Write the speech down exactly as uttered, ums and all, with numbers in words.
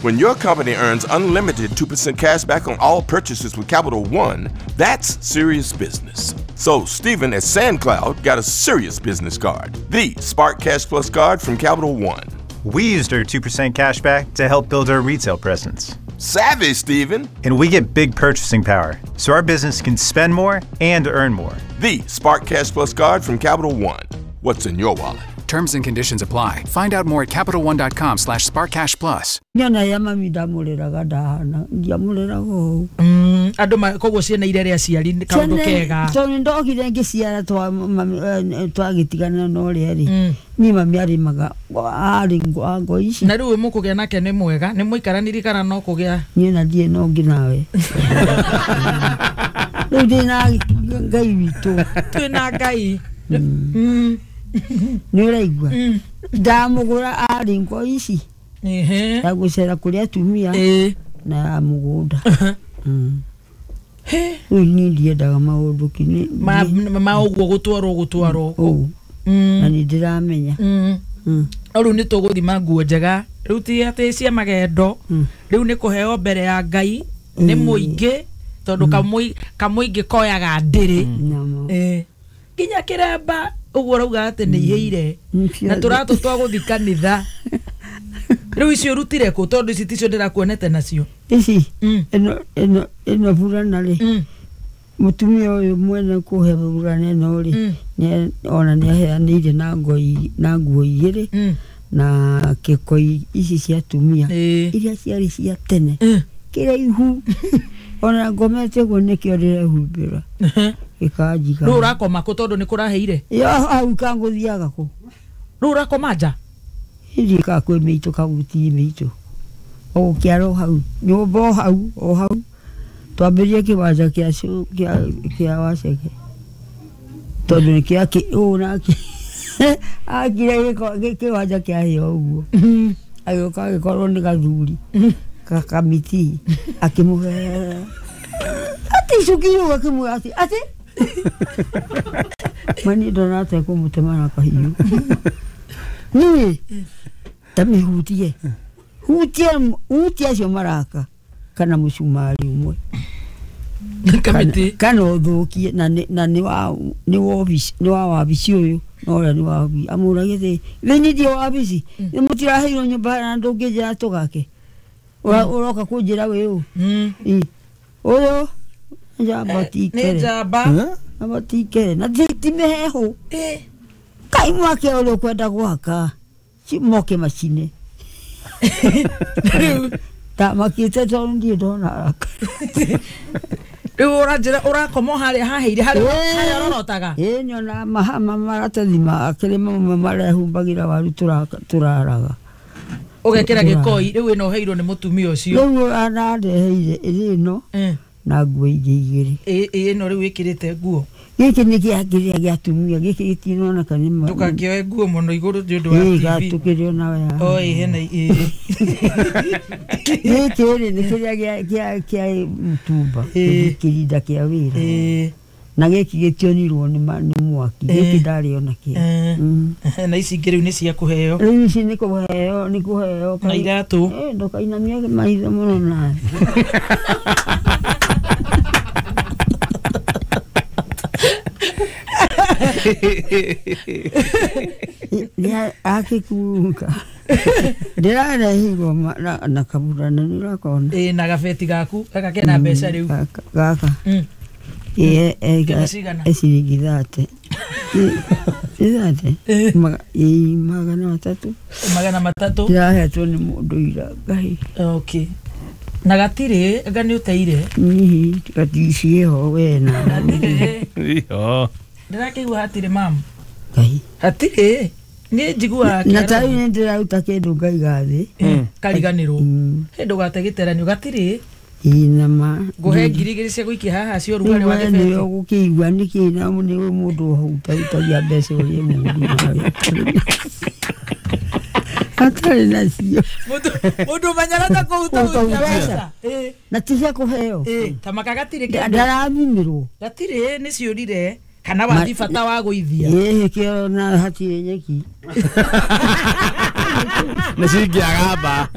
When your company earns unlimited two percent cash back on all purchases with Capital One, that's serious business. So Stephen at SandCloud got a serious business card, the Spark Cash Plus card from Capital One. We used our two percent cash back to help build our retail presence. Savvy, Stephen. And we get big purchasing power, so our business can spend more and earn more. The Spark Cash Plus card from Capital One. What's in your wallet? Terms and conditions apply. Find out more at Capital One dot com slash Spark Cash Plus. Mm, andå koguo ciana iria rä aciari kaå kega tondå ndokire ngä ciara twagä tigana na å rä a rä niä mami arä maga arä ngo ici na rä u må kå gä a nake nä mwega nä må ikaraniri kana no kå gä a niä na ndirä na å ngä nawe rä u ndä na Ngai witå twä na Ngai nä å raigua ndamå gå ra arä ngo ici ya gå cera kå rä atumia na ya må gå nda rä u niä ndiendaga maå ndå ma å guo gå twarwo gå twarwo na nä ndä ramenya no rä u nä tå gå thima nguo njega rä u ti atä cia magendo rä u nä kå heo mbere ya Ngai nä må ingä tondå kamå ingä koyaga ndä rä nginya kä remba ũguo rauga atĩ nĩ ihĩire na tũratũ twa gũthi kanitha rĩu icio ũrutire kũ tondũ ici ticio ndĩrakuonete nacio ici ĩno ĩno ĩno burana rĩ mũtumia ũyũ mwene kũhe burana ĩno rĩ ona nĩ aheanĩire na ngo na nguo igĩrĩ na kĩkoi ici cia atumia iria ciarĩ cia tene kĩraihu ona ngomete ũguo nĩkĩo ndĩrehumbĩra gĩkanjiga rĩu ũrakoma kũ tondũ nĩ kũraheire yo hau kangũthiaga kũ rĩu ũrakoma nja ndiĩ ka kwĩ mĩitũ kagutii mĩitũ ogũkĩara o hau nyũmba o hau o hau twambĩrĩrie kĩwanja kĩa kĩa Waceke tondũ nĩkĩo ũũ nake akire kĩwanja kĩahĩa ũguo agĩũka agĩkorwo nĩ gathuri kakamiti akĩmũhe atĩ icuki rĩu akĩmwĩra atĩ atĩ mani ndona atekũmũtema na kahiũ niĩ ta mĩhutie hutie hutie acio maraka kana mũcumari ũmwe kamĩtĩ kana ũthũkie na na nĩ wa nĩ wabici nĩ wa wabici ũyũ na ũrĩa nĩ wa amũragie thĩ thĩinĩ ndiĩ wabici nĩ mũtiraheirwo nyũmba na ndũngĩnjĩra tũgake ũroka kũnjĩra wĩ ũ ũyũ njamba tikere nĩ njamba njamba tikere na ti mĩhehu kai mwake ũrĩa ũkwenda gwaka moke macine ndamakĩte tondũ ndirĩ ndona haraka rĩu ũranjĩra ũrakoma harĩa haheire harĩa ũrorotaga ĩĩ nyonaga maratathi makĩrĩ mamwe marehumbagĩra waru tũraraga ũgekĩra gĩkoi rĩu ĩno ũheirwo nĩ mũtumia ũcio rĩu anandeheire ĩrĩ ĩno na nguo ingĩ igĩrĩ ĩ ĩno rĩu ĩkĩrĩte nguo gĩkĩ nĩ kĩa kĩrĩa gĩa atumia gĩkĩ gĩtinoneka nĩ ndũgakĩoe nguo mũno igũrũ nĩ ũndũ wa T V gatũkĩrĩ onawe haha o ĩ hena ĩ gĩkĩ rĩ nĩ kĩrĩa gĩa kĩa mũtumba kĩrinda kĩa wĩra na gĩkĩ gĩtionirwo nĩ mwaki gĩkĩ ndarĩ ona kĩo na ici ingĩ rĩu nĩ cia kũheo rĩu ici nĩ kũheo nĩ kũheo na iratũ ndũkainamie maitho mũno nawe akĩkunga ndĩrarehirwo na kaburana nĩ ũrakona ĩ na gabeti gaku gaka kena mbeca rĩu gaka ĩ ciringi thate thate ĩ magana matatũ magana matatũ ndĩrahetwo nĩ mũndũ ira Ngai okay na gatirĩ anga nĩ ũteire gatiiciĩho we na iho ndĩrakĩigua hatirĩ mamu Ngai hatirĩ niĩ njiguaga na ta rĩu nĩ ndĩraruta kĩndũ ngaiga thĩ kariganĩrwo hĩ ndũgate gĩteranio gatirĩ ĩ nama ngũhe ngiri igĩrĩ cia gũikia haha cia ũrugarĩ wa nĩwe gĩbeti ũgũkĩigua nĩkĩ na nĩwe mũndũ ũhutahutagia mbeca ũrĩa mũru atarĩ nacio mũndũ ũmenyaga ta kũhutahutia mbeca na ti cia kũheo ta maka gatirĩ kĩndũ ndarathimĩrwo gatirĩ nĩ ciũrire kana wathi bata wa gũithia ĩĩ kĩo na hatirĩ nyeki nĩ cingĩagamba.